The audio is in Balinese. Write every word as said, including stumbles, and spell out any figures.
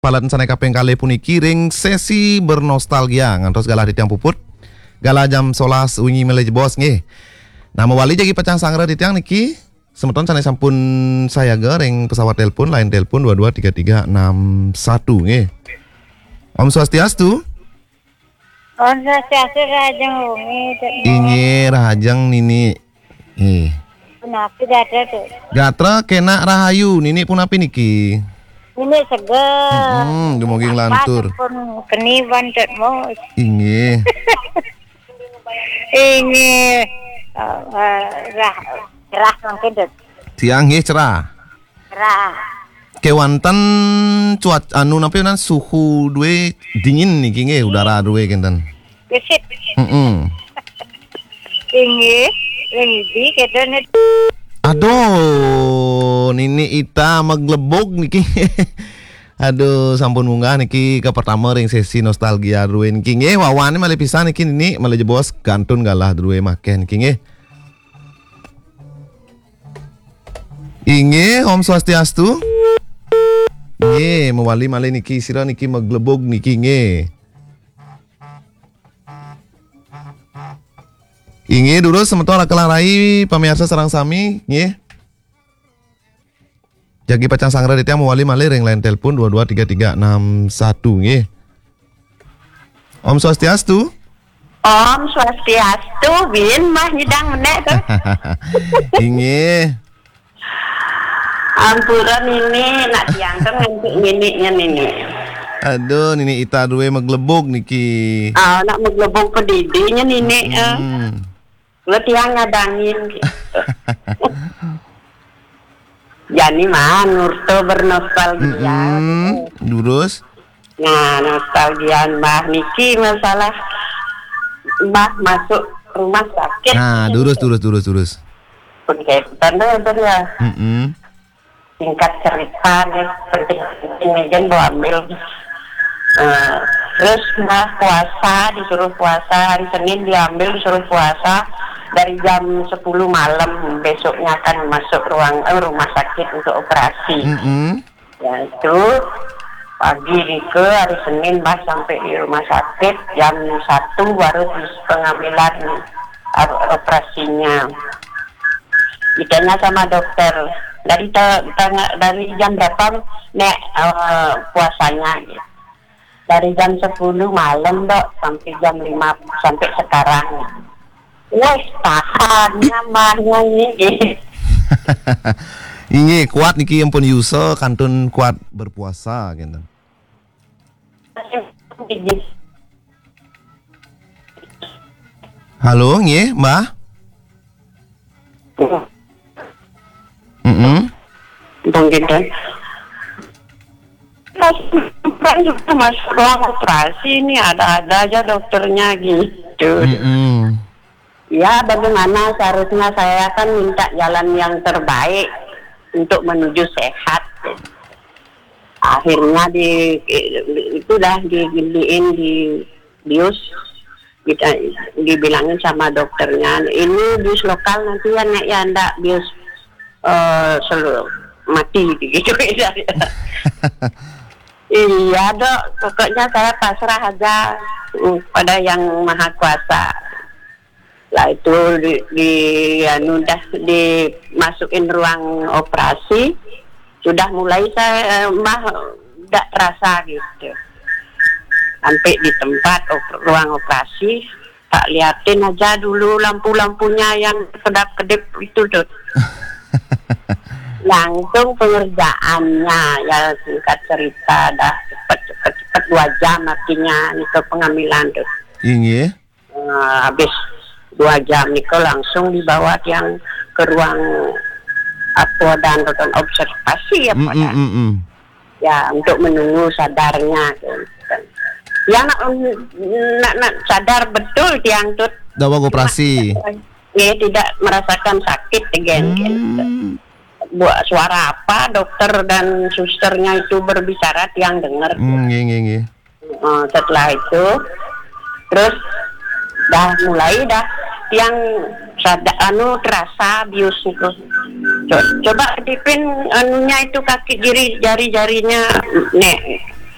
Palet sané kaping kalih puniki ring sesi bernostalgia ngantos galah titiang puput. Galah jam solas wengi malih jebos nggih. Nah, mawali jagi pacang sangra titiang niki, semeton sané sampun sayaga ring pesawat telepon, line telepon dua dua tiga tiga enam satu nggih. Om Swastiastu. Om Swastiastu, Rahajeng wengi, Cek. Inggih, Rahajeng Nini. Nggih. Punapi gatra, Cek? Gatra kenak rahayu, Nini punapi niki? Nini seger. Mm-mm, dumugi nglantur. Pun keni ban, Cek, mo. Inggih. Inggih. Eh, eh, rah, rah mangkin, Cek. Tiang nggih cerah. Cerah. Kewanten cuaca anu napi nan suhu duwe dingin niki nggih, udara duwe kenten. Gesit. Heeh. Inggih, ring idi kita nih. Aduh, Nini Ita maglebug niki. Aduh, sampun munggah niki ka pertama ring sesi nostalgia druwe niki nggih. Wawane malih pisan niki Nini, malih jebos kantun galah druwe makeh niki nggih. Inggih, Om Swastiastu. Nggih, mawali malih niki sira niki maglebug niki nggih. Inggih, durus semeton raka rai pamiarsa sareng sami nggih. Jagi pacang sangra titiang mawali malih ring line telepon dua dua tiga tiga enam satu nggih. Om Swastiastu. Om Swastiastu, bin mah nyidang menek tuh. Inggih. Ampura Nini, nak tiang kan nganti Nini nya Nini. Aduh, Nini Ita duwe maglebug niki. Ah, nak maglebug pedidi nya Nini, eh. Hmm. Kula tiang ngadangin gitu. Jani mah nurta bernostalgia. Mm-mm. Durus. Nah, nostalgia Mbah niki masalah Mbah masuk rumah sakit. Nah, durus, durus, durus, durus. Oke, betul, betul ya. Mm-mm. Singkat cerita nih, penting-penting nih, jangan bawa ambil. Eh, terus Mbah puasa, disuruh puasa, hari Senin diambil, disuruh puasa dari jam sepuluh malam, besoknya akan masuk ruang, eh, rumah sakit untuk operasi. Mm-mm. Ya, itu pagi nika hari Senin Mbah sampai di rumah sakit jam satu baru terus pengambilan, eh, operasinya. Ditanya sama dokter, "Dari ta-, tangga-, dari jam berapa, Nek, eh, puasanya?" Dari jam sepuluh malam, Dok, sampai jam lima, sampai sekarang. Wes, tahan, nyaman, nyanyi. Inggih, kuat niki ampun yusa, kantun kuat berpuasa, gitu. Halo, nggih, Mbah? Mm-mm. Bang Gintan. Pas kan juga masuk ruang operasi, ini ada-ada aja dokternya gitu. Mm-mm. Ya, bagaimana seharusnya saya kan minta jalan yang terbaik untuk menuju sehat. Akhirnya di, itu dah digiliin di bius, kita dibilangin sama dokternya, "Ini bius lokal nanti ya, Nek, ya, ndak bius, eh, selalu mati," gitu. Iya, Dok, pokoknya saya pasrah aja, mm, pada Yang Maha Kuasa. Lah itu di, di, anu, dah dimasukin ruang operasi, sudah mulai saya, eh, Mbah, ndak terasa gitu. Sampai di tempat op-, ruang operasi, tak liatin aja dulu lampu-lampunya yang kedap-kedip itu tuh. Langsung pengerjaannya, ya, singkat cerita, dah cepet, cepet, cepet, dua jam artinya itu pengambilan tuh. Inggih. Eh, habis dua jam nika langsung dibawa tiang ke ruang apa dan, dan observasi apa. Mm-mm, dah. Mm-mm. Ya, untuk menunggu sadarnya. Ya, nak, nak, nak sadar betul tiang tu. Dah bawa operasi. Ya, tidak merasakan sakit again. Hmm. Buat suara apa dokter dan susternya itu berbicara, tiang dengar. Hmm, nggih, nggih, nggih. Eh, setelah itu, terus dah mulai dah tiang sada-, anu, terasa bius itu. Co-, coba kedipin anunya itu kaki kiri, jari-jarinya, Nek,